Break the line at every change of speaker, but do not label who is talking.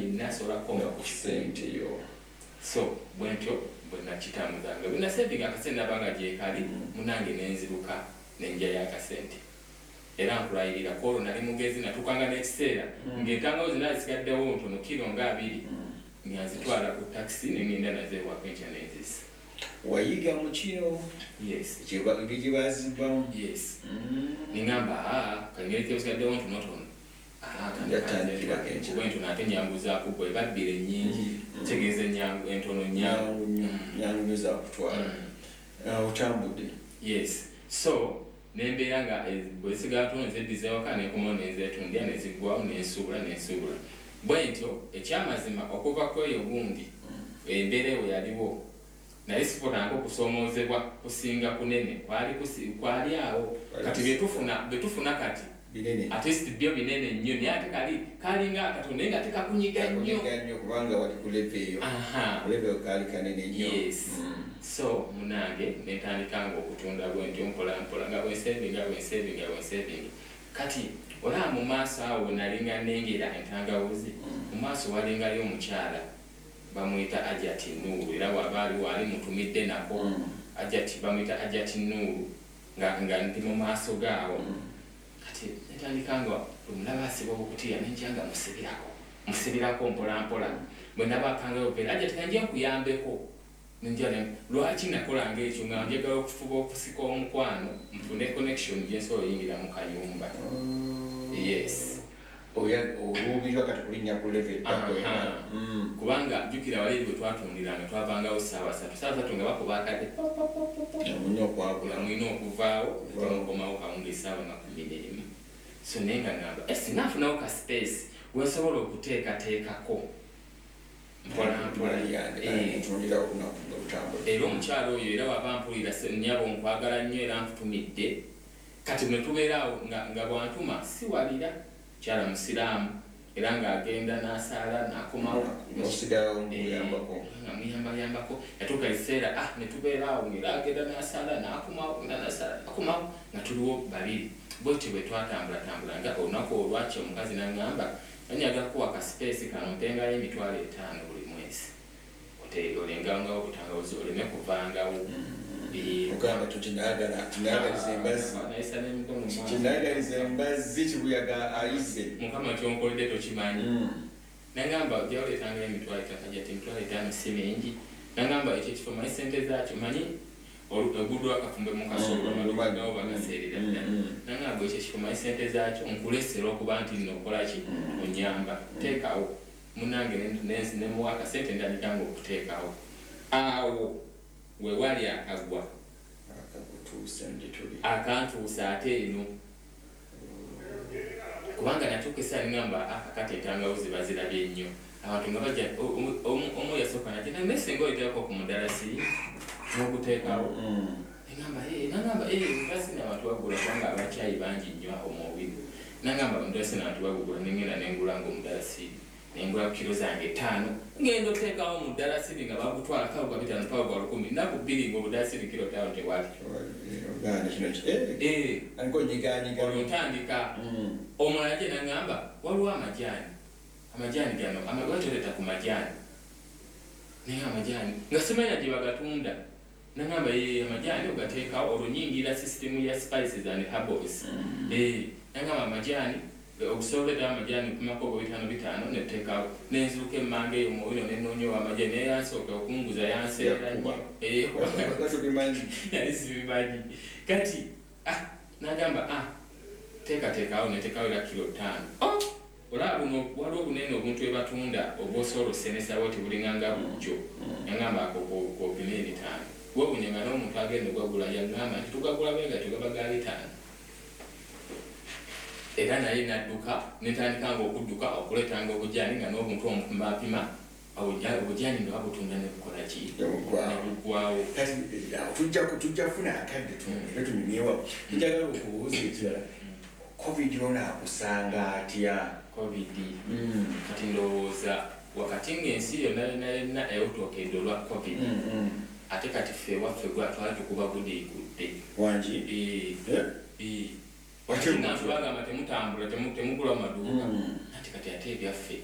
Yenna asobola kukonga ku 1000.
Sente yo.
So bwentyo bwe nakitambuzanga, bwe nasevinga akasente, nabanga gyekali munange, nenziruka nenjayo akasente. Era nkulayirira kwolwo nali mugezi, natuukanga n'ekiseera ng'entangawuzi naye zisigaddewo ntono, kiro nga 20, nga nzitwala ku takisi nengenda nazo ewaka, enkya nenzisa.
Wayiga mu kino?
Yes.
Engeri gye bazimbamu?
Yes. Nengamba, "Aa, kangeri kebisigaddewo ntonotono."
Yatandikirako enkya.
Kuba entono ate nyanguzaako, bwe babbira ennyingi, kitegeeza enyangu entono nyangu.
Nyangu nnyo, nyangu nnyo zakutwala. Ah, otambudde.
Yes, so nembeera nga bwe zisigala ntono nzeddiza ewaka, nenkomawo nenzetundya, neziggwawo, nensuubula, nensuubula bwe ntyo. Ekyamazima, okuva ku eyo gundi embeera eyo yaliwo, naye sifunanga okusoomoozebwa kusinga kunene kwali kwali awo. Kati byetufuna kati
binene.
Ate si byo binene nnyo, naye ate kali kalinga akatono, naye nga tekakunyiga nnyo.
Kunyiga nnyo kubanga wali ku level eyo. Ku level kaali kanene nnyo.
Yes. So munange netandika nga okutunda bwentyo mpola mpola, nga bwensevinga, bwensevinga, bwensevinga. Kati olaba mu maaso awo nalinga nengera entangawuzi, mu maaso walingayo omukyala bamuyita Ajati Nuuru. Era bwaba ali waali mutumidde nako. Ajati, bamuyita Ajati Nuuru, nga ndi mu maaso gaawo. Kati netandika nga omulaba asiba obukutiya, nenja nga musibirako, musibirako mpola mpola. Bwe nabakangayo vera, "Ajati, kanje nkuyambeko." Nenja lwaki nakolanga ekyo? Nga njagala okufuba okusika omukwano, nfune connection gyensobola oyingira mu kayumba. Yes.
Oluubirwa kati kulinnya ku level eddako.
Aha. Kubanga jjukira wali eri bwe twatundiranga, twavangawo saawa 3, saawa 3 nga bakuba akadde.
Mulina okwagula.
Nga mulina okuvaawo.
Okuvaawo.
Temukomawo kawunga esaawa nga 11. So naye nga ngamba, singa nfunawo ka space wensobola okuteekateekako mpola mpola."
Ntundira olunaku nga lutambula.
Era omukyalo oyo, era waba mpulira, nnyabo nkwagala nnyo era nkutumidde. Kati bwe tubeera awo nga bwantuma siwalira, mukyala musiraamu, era ng'agenda n'asaala n'akomawo.
Nosigalawo muyambako.
Nga muyambayambako. Yatuuka ekiseera, ah, ne tubeera awo ng'era agenda n'asaala n'akomawo, nga n'asaala n'akomawo, nga tuliwo babiri bwetyo bwe twatambulatambula. Nga olunaku olwaki omukazi n'aŋŋamba, "Anyaga kuwa ka space kano, mpengayo 50,000 buli mwezi, olengangawo obutangawuzi oleme kuvangawo."
Ogamba tinayagaliza embazzi.
Nayisa n'emikono mu maaso.
Tinayagaliza embazzi, kibuyaga ayize.
"Mukama kyonkoledde tokimanyi." Nagamba, "Ojja oleetangayo 50,000." Ajja ti 50,000 si mingi. Nagamba, "Ekyo ekifo manyi sente zaakyo, manyi oguddwa akafumbe mu kasolo, amalugawo bagaseerera ddala." Nagamba, "Ekyo ekifo manyi sente zaakyo, nkulesera okuba nti nno okolaki, onyamba, teekawo." Munange nemuwa akasente, ndandikanga okuteekawo. Awo wewali akagwa.
Akakutuusa gye tuli.
Akantuusa ate eno, kubanga natuuka esaa ningamba, "Akakati entangawuzi bazirabye nnyo." Abantu nga bajja, omu yasooka najja, naye singa oyiteekako ku mudalasi n'oguteekawo. Nagamba, "Eh," nagamba, "Eh, omudalasi abantu bagula, kubanga abakyayi bangi nnyo awo mu Owino." Nagamba, "Omudalasi abantu bagugula." Nengenda nengula nga omudalasi, nengula kiro zange 5, ngenda oteekawo omudalasi nga bagutwala kawo gwa 500, kawo gwa 1000. Nnaku 2 nga omudalasi kiro 5 tewali.
Gaana kino aliko nyiganyiga.
Olwo ntandika. Omulala gye naŋŋamba, "Waliwo amajaani, amajaani gano lwaki oleeta ku majaani?" Naye amajaani nga simanya gye bagatunda. Naŋŋamba, "Ye amajaani ogateekawo." Olwo nyingira sisitimu ya spices and herbals. Naŋŋamba, "Amajaani okusobola oleetawo amajaani, opimako oba bitaano bitaano." Neteekawo, nenziruka emmanga eyo muwino, nenoonya amajaani, naye yansooka okunguza yanseera nnyo.
Yakuba.
Kubanga
Tobimanyi.
Yali sibimanyi. Kati, ah, nagamba, "Ah, teekateekawo." Neteekawo era kiro 5. Oh, olaba buno waliwo obunene, obuntu bwe batunda obwosobola osenesa bwoti, bulinganga bujjo. Yagamba, "Ako kopima 500." Wewunye nga n'omuntu agenda ogagula yagamba nti tugagula bwe gatyo, gaba ga 500. Era naye nadduka, netandika nga okudduka okuleetanga obujaani, nga n'obuntu omupimapima obujaani nga babutunda nebukola ki?
Nebuggwawo.
Nebuggwawo.
Kati awo tujja kufuna akadde tumire tunyumyewo. Njagala okubuuza ekirala, COVID ono akusanga atya?
COVID? Kati ndowooza wakati ng'ensi yonna yonna yonna ewutookedde olwa COVID, ate kati ffe ewaffe gwa twali tukuba gudiikudde.
Wangi?
Eh, eh.
Watya?
Kati nga ntu bagamba temutambula, temugula mu maduuka.
Mm.
Anti kati ate ebyaffe